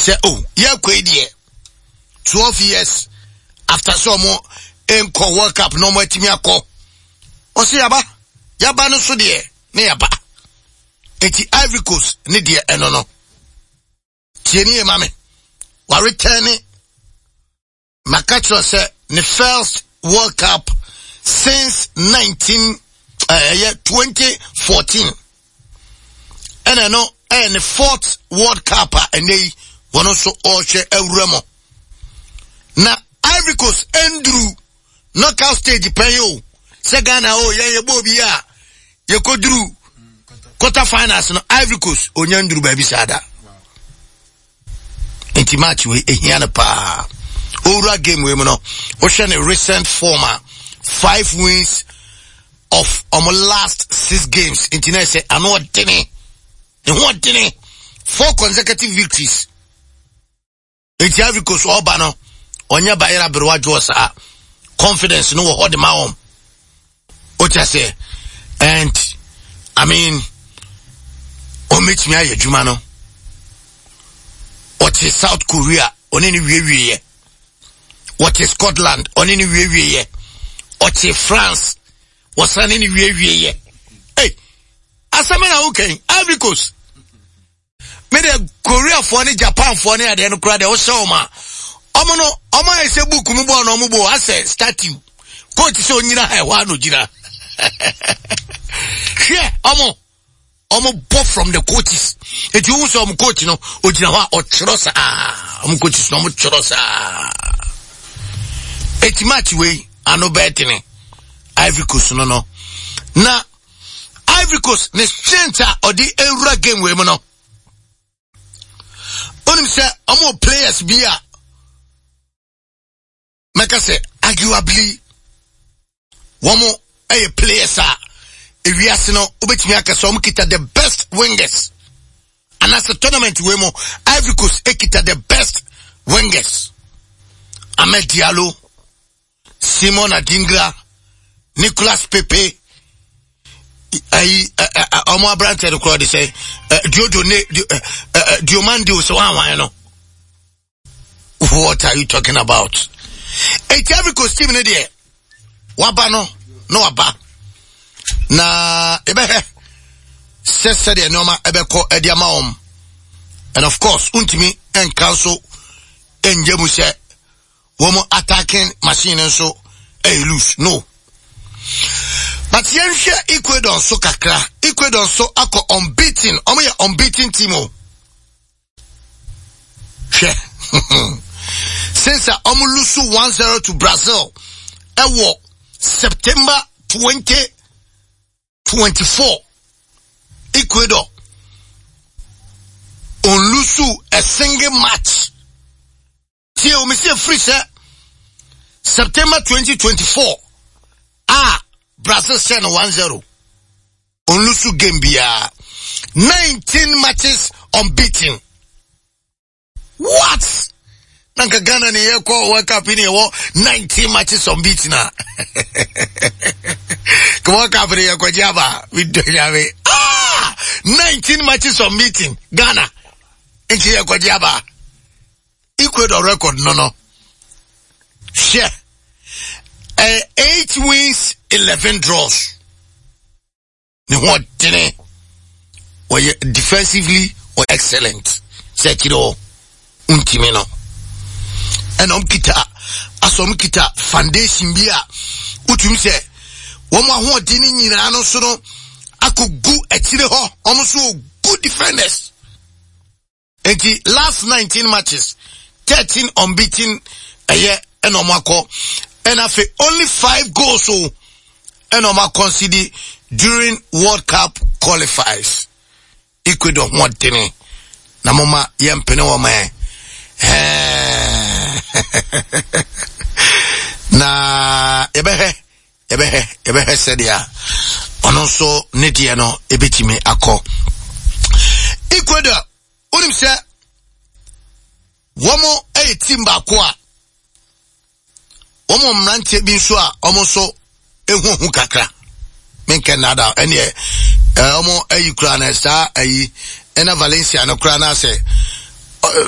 Sɛ o oh, yɛkɔ yi deɛ 12 years after sɛ ɔmo nkɔ World Cup na ɔmo atumi akɔ. Ɔsɛ yaba yaba no so deɛ ne yaba. Eti Ivory Coast ne deɛ ɛno no. Tie ne yie ma me. Waretɛne maka kyerɛ sɛ ne first World Cup since 19 ɛyɛ eh, 2014 ɛna ɛno ɛyɛ ne fourth World Cup a ɛnɛ yi wɔn nso ɔrehwɛ awura mu na Ivory Coast nduru knockout stage pɛn o sɛ Ghana o yɛn yɛ bɔ obi a yɛkɔduru quarter finals no Ivory Coast onya nduru baabi saa da nti match wei ehia no paa owura game wei mu no wohwɛ ne recent form a five wins of ɔmo last six games nti na ɛsɛ ano ɔdene ne ho ɔdene four consecutive victories Eti Ivory Coast ɔba no ɔnyɛ bayera berewa dwoɔ saa confidence no wɔ hɔ de ma wɔn o kyɛ sɛ and I mean wɔn bɛtumi ayɛ adwuma no ɔte South Korea ɔne ne wiewieɛ wɔte Scotland ɔne ne wiewieɛ ɔte France wɔsan ne ne wiewieɛ hey asɛm na wokɛn Ivory Coast Me deɛ Koreafoɔ ne Japanfoɔ ne adeɛ no koraa deɛ wohyɛ wɔn a wɔn no wɔn ayɛ sɛ book mu bɔɔl na wɔn bɔ asɛ statue coach sɛ onyina ha ɛhɔ ano gyina hwɛ wɔn wɔn bɔ from the coaches eti wohu sɛ wɔn coach no ogyina hɔ a ɔtwerɛ saa wɔn coaches no wɔn twerɛ saa eti match wei ano bɛɛ tene Ivory Coast no no na. Ivory Coast ne strength a ɔde ewura game wei mu no onim sɛ ɔmo players bi a mɛka sɛ arguably wɔn yɛ players a ewiase no wobɛtumi aka sɛ wɔn kita the best wingers anaasɛ tournament wei mu Ivory Coast ekita the best wingers Ahmed Diallo Simon Adingra, Nicolas Pepe, ayi ɔmo aberanteɛ no koraa de sɛ Diodo ne Diomande o sɛ wɔn no. What are you talking about? Eti Ivory Coast team no deɛ waba no na waba na ebɛhwɛ sɛ sɛdeɛ nneɛma ɛbɛkɔ ɛde ama wɔn and of course ntumi nka nso ngye mu sɛ. wɔn attacking machine no nso ɛyɛ loose no but yɛnhwɛ Ecuador nso kakra Ecuador nso akɔ unbeaten wɔn yɛ unbeaten team o hwɛ since a wɔn lose 1-0 to Brazil ɛwɔ September 2024 Ecuador on lose a single match. Tie o, mesi efiri sɛ September 2024 a Brazil hyɛ no 1-0. Onlusu game biara. 19 matches unbeaten. What? Na nka Ghana ne yɛkɔ World Cup ne yɛwɔ 19 matches unbeaten a. Ka World Cup ne yɛkɔgye aba. Medɔ nyame. Ah! 19 matches unbeaten. Ghana. Nti yɛkɔgye aba. Ecuador record no no hwɛ ɛyɛ eight wins 11 draws ne ho ɔdene ɔyɛ defensively ɔyɛ excellent sɛ akyire hɔ ntumi no ɛna ɔm kita asɔ ɔm kita foundation bi a wotumi sɛ wɔn ahoɔden no nyinaa no so no akɔgu akyire hɔ wɔn nso good defenders. Nti last 19 matches, 13 unbeaten ɛyɛ ɛna ɔmo akɔ ɛna afei only five goals o ɛna ɔmo akɔnsidi during World Cup qualifiers. Ecuador ho ɔdene na mo ma yɛn mpene wɔn ɛ na yɛbɛhwɛ yɛbɛhwɛ yɛbɛhwɛ sɛdeɛ ɔno nso ne deɛ no ɛbɛtumi akɔ Ecuador wonim sɛ wɔn yɛ team baako a wɔn mmeranteɛ bi nso a wɔn nso ehuhu kakra menkɛ nada ɛneɛ wɔn ayi koraa na saa ayi ɛna Valencia no koraa na sɛ.